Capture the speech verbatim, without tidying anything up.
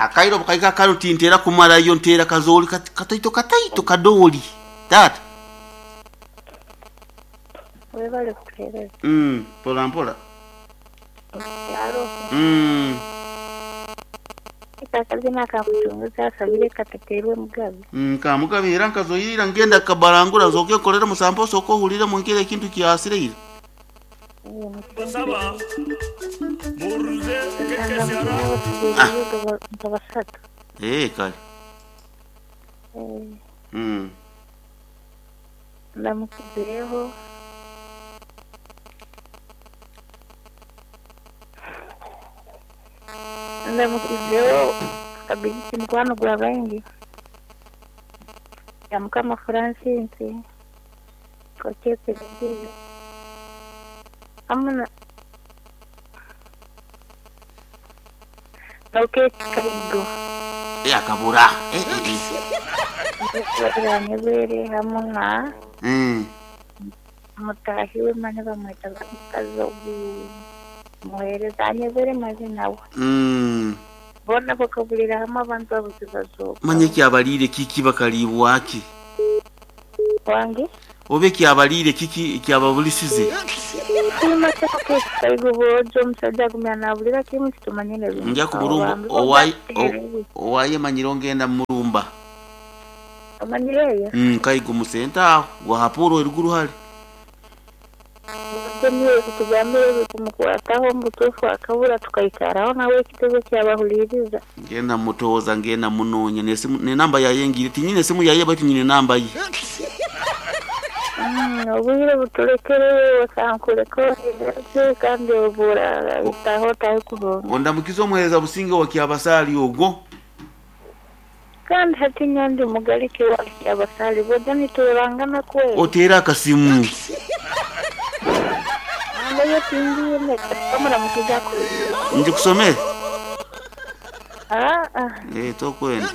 Akairo bukaika karuti ntera kumarayo ntera kazooli kat- kataito kataito kadooli taata. Webale kutuheereza. Mm, mpola mpola. Kyalo. Mm. Akazina kamuchunguzi asabire katateerwe Mugabe. Mm, kamugabe era nkazoyirira ngenda kabarangura nzooke nkorere musampo osooke ohurire nkere ekintu kyasireire. Basaba muruze kekesera. Nka basatu. Eh, kale. Eh, Mm. Ndamukizireho. Ndamukizireho kabigisi mukwano gwa baingi ya Mukama Francis kochepe hamuna Kaigo. Eh, akabura. Eh, eh, eh. Nyebere hamuna Mm. mutahi we mane bamwita mukazi muhereza anyebere mazina we. Mm. Bona bakabulira hamwe abantu abuzibazoka. Manye kyabalire kiki bakalibwa ki? Wange? Obe kyabalire kiki kyababulisize? Kaigo bojo omusajja agumya nabulira kimu kitumanyire bintu. Nja kuburumba owaye owaye manyiro ngenda murumba. Amanyireyo? Mm, Kaigo musenta wa hapuro eruguru hali. Niwe kutugambira kumukwataho mbutuufu akabura tukaikaraho nawe ekitebe kyabahuliriza. Ngenda mutoza ngenda munonya nesimu ne namba yaye ngire tinyine simu yaye bati nyine namba ye. Mm, obwire butulekere wasankuleko kandi obura itaho taho kubonga. Ondamukizo omuhereza Businge wa Kyabasali ogwo. Kandi hati nyandi mugalike wa Kyabasali boja niturangana kwe. Otera akasimu. Ndayo tindiye kamara mukijako. Nje kusomera? Ah ah. Eh, tokwenda.